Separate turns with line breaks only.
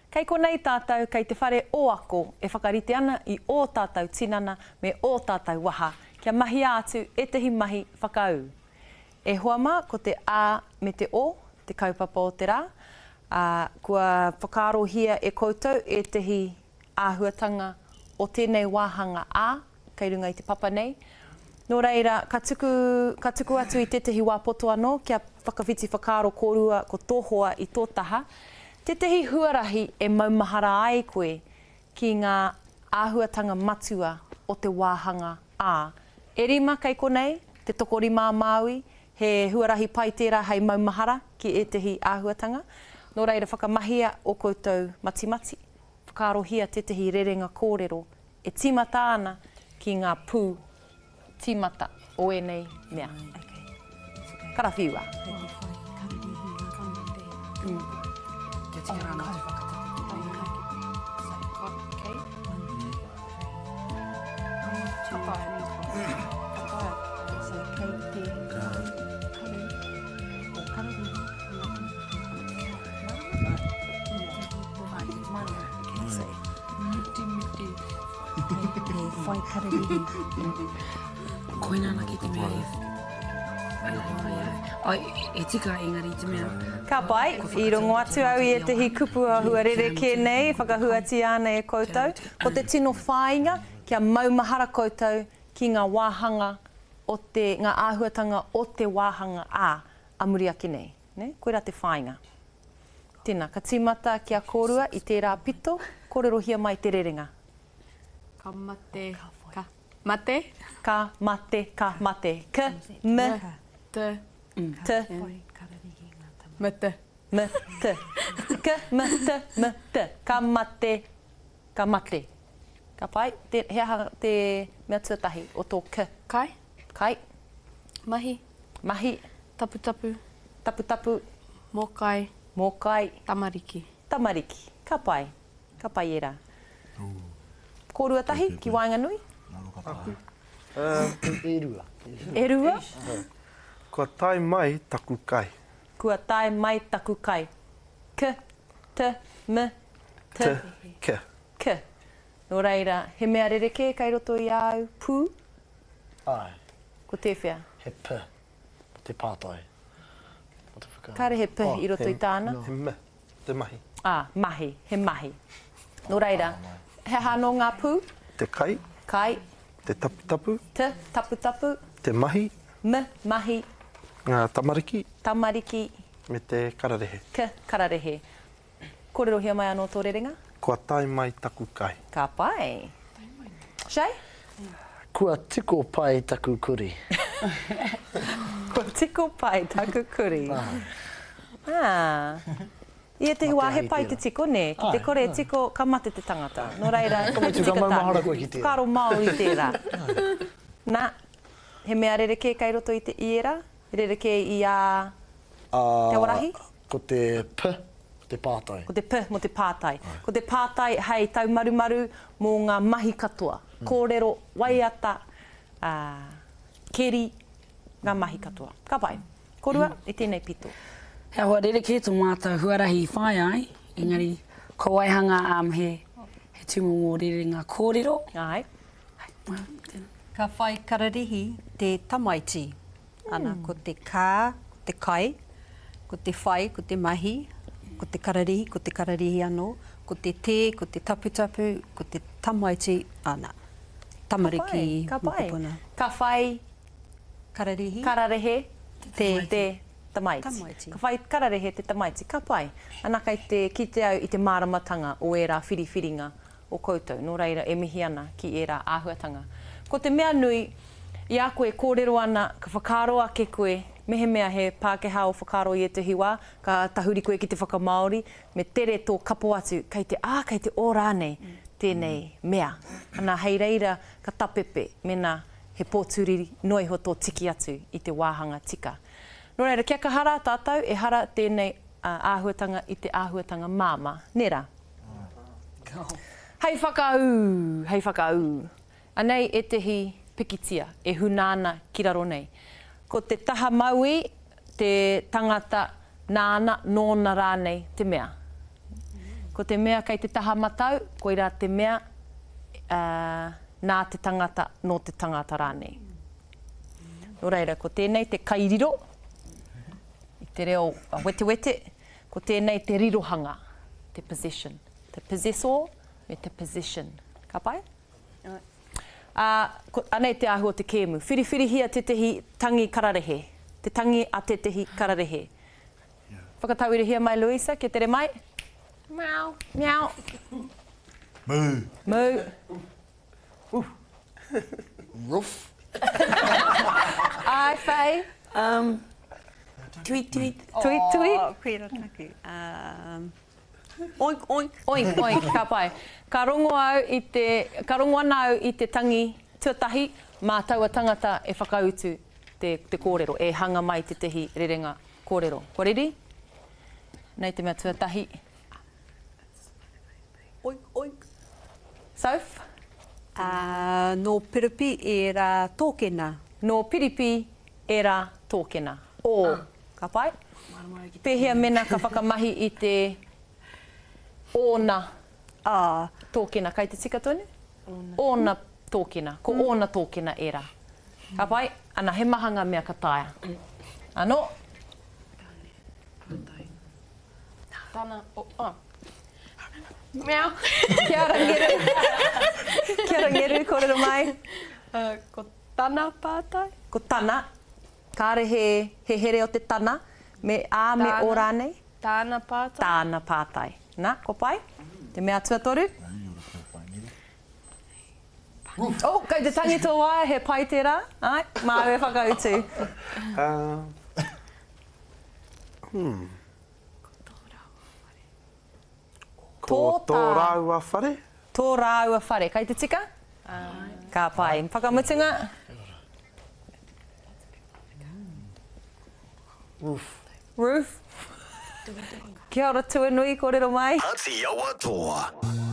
Kei konei tātou kei te whare o ako e whakarite ana i ō tātou tinana me ō tātou waha kia mahia atu ētahi mahi whakaū. E hoa mā, ko te A me te O te kaupapa o te rā, ā, kua whakaarohia e koutou ētahi āhuatanga o tēnei wāhanga A kei runga i te papa nei. Nō reira, ka tuku, ka tuku atu i tētahi wā poto anō kia whakawhiti whakaaro kōrua ko tō hoa i tō taha, tētahi huarahi e maumahara ai koe ki ngā āhuatanga matua o te wāhanga A. E rima kei konei, te tokorima a Māui, he huarahi pai tērā hei maumahara ki ētahi āhuatanga. Nō reira, whakamahia ō koutou matimati, whakaarohia tētahi rerenga kōrero e tīmata ana ki ngā pū tīmata o ēnei mea. Karawhiua.
Whai kararihi.
Koina anake te mea e Ai, e tika engari te mea.
Ka pai, i rongo atu au i ētehi kupu āhua rerekē nei e whakahuatia ana e koutou. Ko te tino whāinga, kia maumahara koutou ki ngā wāhanga o te, ngā āhuatanga o te wāhanga A, a muri ake nei. Nē? Koirā te whāinga. Tēnā, ka tīmata ki a kōrua i tērā pito, kōrerohia mai te rerenga.
Ka mate, ka mate.
Ka mate, ka mate. K, m,
t,
t.
M, t.
M, t. K, m, t, m, t. Ka mate, ka mate. Ka pai? Te, he aha te mea tuatahi o tō k?
Kai.
Kai.
Mahi.
Mahi.
Taputapu.
Taputapu.
Mōkai.
Mōkai.
Tamariki.
Tamariki. Ka pai. Ka pai ērā. Kōrua tahi ki waenganui?
Aku.
E rua.
E rua?
Kua tae mai taku kai.
Kua tae mai taku kai. K, t, m, t.
T, k.
K. Nō reira, he mea rerekē kei roto i a au, pū?
Āe.
Ko tēwhea?
He p. Mo te pātai. Mo te whakaaro.
Kāre he p i roto i tāna?
He m. Te mahi.
Ā, mahi. He mahi. Nō reira, he aha anō ngā pū?
Te kai.
Kai.
Te taputapu.
Te taputapu.
Te mahi.
M, mahi.
Ngā tamariki.
Tamariki.
Me te kararehe.
K, kararehe. Kōrerohia mai anō tō rerenga.
Kua tae mai taku kai.
Ka pai. Shay?
Kua tiko pai taku kuri.
Kua tiko pai taku kuri. Ah. I ētehi wā he pai te tiko, nē? Ki te kore e tiko, ka mate te tangata. Nō reira,
Ka mutu, ka maumahara koe ki tērā.
Whakaaro Māori tērā. Nā, he mea rerekē kei roto i te i ērā? Rerekē i a Te Awarahi?
Ko te p, ko te pātai.
Ko te p mō te pātai. Ko te pātai hei taumarumaru mō ngā mahi katoa. Kōrero, waiata, ā, keri, ngā mahi katoa. Ka pai. Korua, i tēnei pito.
He āhua rerekē tō mātou huarahi i whāia ai, engari kua waihanga he, he tūmomo rerenga kōrero.
Āe.
Ka whai kararihi te tamaiti. Ana, ko te kā, ko te kai, ko te whai, ko te mahi, ko te kararihi, ko te kararihi anō, ko te tē, ko te taputapu, ko te tamaiti, ana, tamariki,
Ka pai, ka pai.
mokopuna.
Ka whai
Kararihi.
Kararehe
te
te tamaiti.
Tamaiti.
Ka whai kararehe te tamaiti. Ka pai. Ana kei te kite au i te māramatanga o ērā whiriwhiringa o koutou, nō reira e mihi ana ki ērā āhuatanga. Ko te mea nui, i a koe e kōrero ana, ka whakaaro ake koe, mehemea he Pākehā ō whakaaro i ētahi wā, ka tahuri koe ki te whakamāori, me tere tō kapo atu, kei te ā, kei te ō rānei tēnei mea. Ana, hei reira ka tapepe mēnā he pōturi noa iho tō tiki atu i te wāhanga tika. Nō reira, kia kaha rā tātou, ehara tēnei āhuatanga i te āhuatanga māmā, nē rā? Hei whakaū, hei whakaū. Anei ētehi pikitia e huna ana ki raro nei. Ko te taha mauī te tangata nāna, nōna rānei te mea. Ko te mea kei te taha matau, koirā te mea, ā, nā te tangata, nō te tangata rānei. Nō reira, ko tēnei te kairiro, i te reo wetewete, ko tēnei te rirohanga, te possession. Te possessor me te possession. Ka pai? Ā, ko, anei te āhua o te kēmu. Whiriwhirihia tētehi tangi kararehe. Te tangi a tētehi kararehe. Whakatauirahia mai, Louisa, kia tere mai. Meow. Meow.
Mū.
Mū.
Roof.
Āe, Faye.
Um, tweet, tweet.
Tweet, tweet.
Oh, koira taku. Um, oink, oink.
Oink, oink, ka pai. Ka rongo au i te, ka rongo ana au i te tangi tuatahi mā taua tangata e whakautu te, te kōrero, e hanga mai tētehi rerenga kōrero. Kua reri? Nei te mea tuatahi.
Oink, oink.
Soph?
Ā, nō Piripi ērā tōkena.
Nō Piripi ērā tōkena. Ō. Ka pai? Pēhea mena ka whakamahi i te ōna tōkena? Kai te tika tonu? Ōna tōkena. Ko ōna tōkena ērā. Ka pai? Ana, he maha ngā mea ka taea. Anō?
Tana, oh, oh. Meow.
Kia ora Ngeru. Kia ora Ngeru, kōrero mai.
Uh, ko tana pātai.
Ko tana. Kāre he, he here o te tana, me a me o rānei?
Tāna pātai.
Tāna pātai. Nā, kua pai? Te mea tuatoru?
Roof.
Oh, kei te tangi tō waea, he pai tērā. Āe, māu e whakautu.
Hmm. Ko tō rāua whare.
Tō rāua whare. Kei te tika? Āe. Ka pai. Whakamutunga?
Roof.
Roof. Kia ora Tuanui, kōrero mai.
Ati Awa Toa.